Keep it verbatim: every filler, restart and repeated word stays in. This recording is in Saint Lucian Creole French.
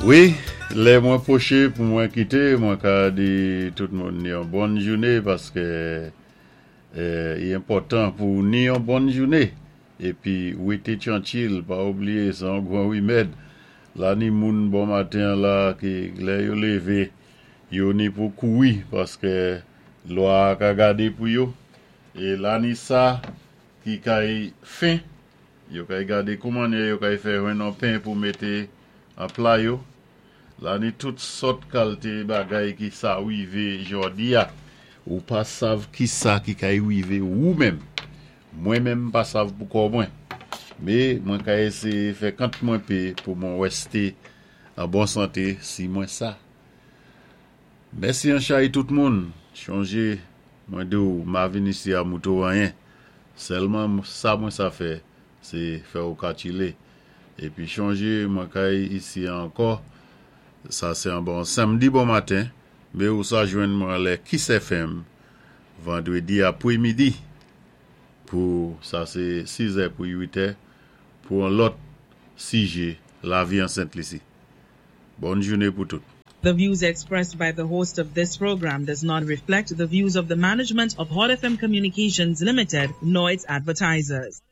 Wi, lè mwen pwoché pou mwen kité, mwen ka di tout moun ni yon bòn jouné paské euh, i enpòtan pou ni yon bòn jouné. Épi, wété twankil, pa oubliyé, sé yon gwan wimèd. La ni moun bon maten la ki lè yo lévé, yo ni pou koui paské lwa ka gadé pou yo. É la ni sa ki kay fen, yo kay gadé kouman yo kay fè jwenn yon pen pou mété an pla yo. La ni tout sòt kalité bagay ki sa wivé jòdi a. Ou pa sav ki sa ki kay wivé ou menm. Mwen menm pa sav pou kò mwen. Mé mwen ka éséyé fè kant mwen pé pou mwen wèsté an bon santé si mwen sa. Mèsi an chay tout moun. Chonjé mwen di ou ma vin isi a mouto anyen. Sèlman sa mwen sa fè, sé fè ou ka tchilé. Épi chonjé mwen kay isi ankò. Sa sé an bon samdi bon maten, mé ou sa jwenn mwen lè Kiss F M vandwédi apwémidi pou sa sé sis è pou uit è pou yon lòt sijé lavi an Sent Lisi. Bòn jouné pou tout. The views expressed by the host of this program does not reflect the views of the management of Hot F M Communications Limited nor its advertisers.